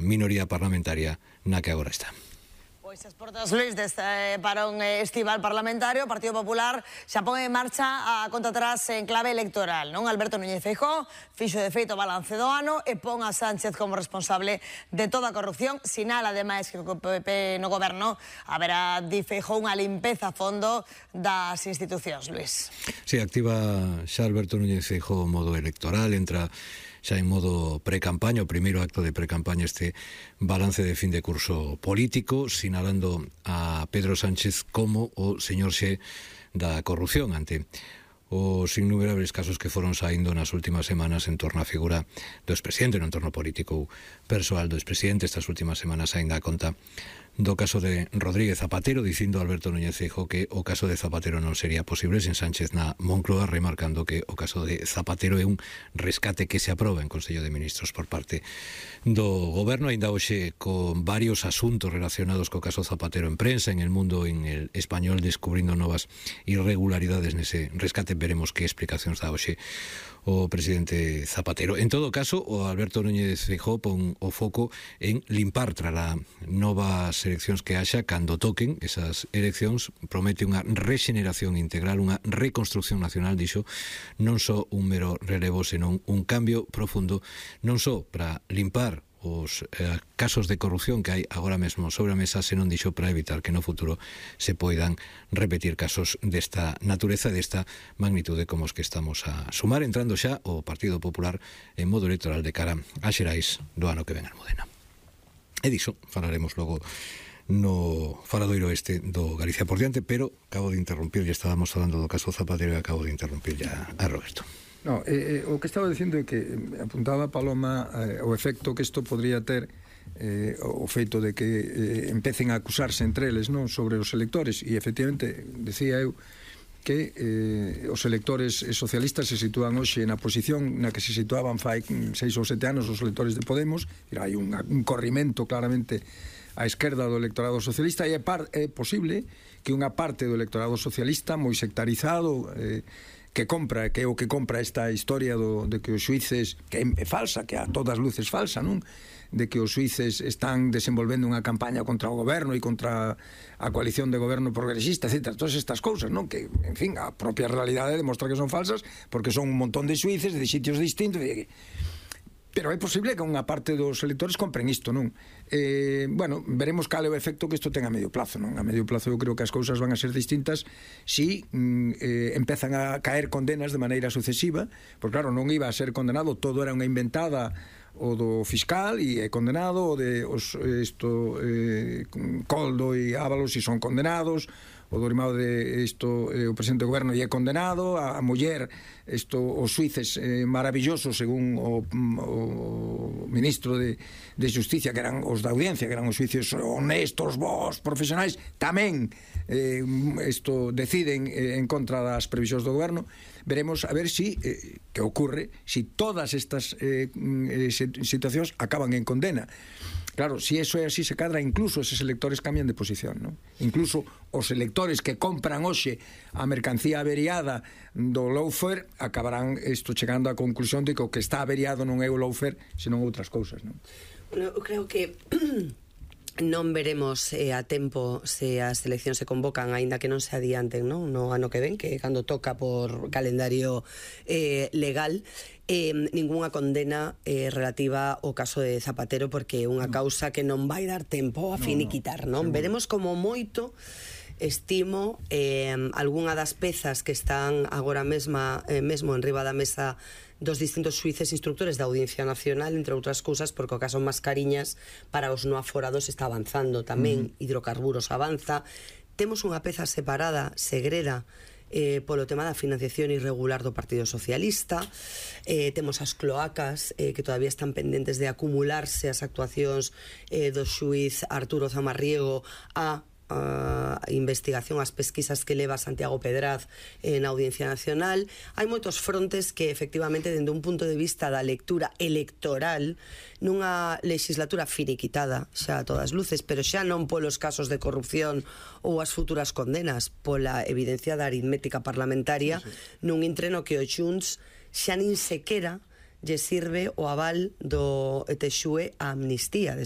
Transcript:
minoría parlamentaria na que agora está. Pois as portas, Luís, deste parón estival parlamentario, o Partido Popular xa pon en marcha a conta atrás en clave electoral, non? Alberto Núñez Feijóo fixo de feito o balance do ano e pon a Sánchez como responsable de toda a corrupción. Sinala, ademais, que o PP no goberno haberá, di Feijóo, unha limpeza a fondo das institucións, Luís. Si, activa xa Alberto Núñez Feijóo o modo electoral, entra xa en modo pre-campaña, o primeiro acto de pre-campaña, este balance de fin de curso político, sinalando a Pedro Sánchez como o señor xe da corrupción ante os innumerables casos que foron saindo nas últimas semanas en torno á figura do expresidente, no entorno político persoal do expresidente. Estas últimas semanas aínda a conta do caso de Rodríguez Zapatero, dicindo Alberto Núñez Feijóo que o caso de Zapatero non sería posible sen Sánchez na Moncloa, remarcando que o caso de Zapatero é un rescate que se aproba en Consello de Ministros por parte do goberno. Ainda hoxe con varios asuntos relacionados co caso Zapatero en prensa, en El Mundo, en El Español, descubrindo novas irregularidades nese rescate. Veremos que explicacións dá hoxe o presidente Zapatero. En todo caso, o Alberto Núñez Feijóo pon o foco en limpar tras a novas eleccións que haxa. Cando toquen esas eleccións, promete unha rexeneración integral, unha reconstrucción nacional, dixo, non só un mero relevo, senón un cambio profundo, non só para limpar os casos de corrupción que hai agora mesmo sobre a mesa, senón, dixo, para evitar que no futuro se poidan repetir casos desta natureza, desta magnitude como os que estamos a sumar, entrando xa o Partido Popular en modo electoral de cara a xerais do ano que ven a Almudena. E diso falaremos logo no faladoiro este do Galicia por diante, pero acabo de interrumpir, ya estábamos falando do caso Zapatero e acabo de interrumpir ya a Roberto. No, o que estaba dicindo é que apuntaba Paloma o efecto que isto podría ter, o feito de que empecen a acusarse entre eles, non, sobre os electores, e efectivamente decía eu que os electores socialistas se sitúan hoxe na posición na que se situaban fai 6 ou 7 anos os electores de Podemos. Hai un corrimento claramente á esquerda do electorado socialista, e é posible que unha parte do electorado socialista moi sectarizado que compra, que é o que compra esta historia de que os xuíces, que é falsa, que a todas luces falsa, non? De que os xuíces están desenvolvendo unha campaña contra o goberno e contra a coalición de goberno progresista, etc. Todas estas cousas, non? Que, en fin, a propia realidade demostra que son falsas, porque son un montón de xuíces de sitios distintos. Pero é posible que unha parte dos electores compren isto, non? Bueno, veremos cal é o efecto que isto ten a medio plazo, non? A medio plazo eu creo que as cousas van a ser distintas si empezan a caer condenas de maneira sucesiva, porque claro, non iba a ser condenado, todo era unha inventada o do fiscal e é condenado, o de Coldo e Ábalos e son condenados, o do irmão de o presidente do goberno e é condenado, a muller, os xuíces maravillosos según o ministro de Justicia, que eran os da audiencia, que eran os xuíces honestos, bons, profesionais, tamén deciden en contra das previsións do goberno. Veremos a ver si que ocorre si todas estas situacións acaban en condena. Claro, si eso é así, se cadra, incluso eses electores cambian de posición, non? Incluso os electores que compran hoxe a mercancía averiada do lawfare acabarán chegando á conclusión de que o que está averiado non é o lawfare, senón outras cousas, non? Bueno, eu creo que non veremos a tempo se as eleccións se convocan, aínda que non se adianten, non? No ano que ven, que cando toca por calendario legal, ningunha condena relativa ao caso de Zapatero, porque é unha causa que non vai dar tempo a finiquitar, non? Veremos como moito, estimo, algunha das pezas que están agora mesmo enriba da mesa dos distintos xuíces instructores da Audiencia Nacional, entre outras cousas, porque o caso Mascariñas para os no aforados está avanzando tamén, hidrocarburos avanza. Temos unha peza separada, segreda, polo tema da financiación irregular do Partido Socialista. Temos as cloacas que todavía están pendentes de acumularse as actuacións do xuíz Arturo Zamarriego a investigación, as pesquisas que leva Santiago Pedraz na Audiencia Nacional. Hai moitos frontes que efectivamente, dende un punto de vista da lectura electoral, nunha legislatura finiquitada xa a todas luces, pero xa non polos casos de corrupción ou as futuras condenas, pola evidencia da aritmética parlamentaria, nun entreno que o Xunts xa nin sequera lle sirve o aval do Etexue a amnistía de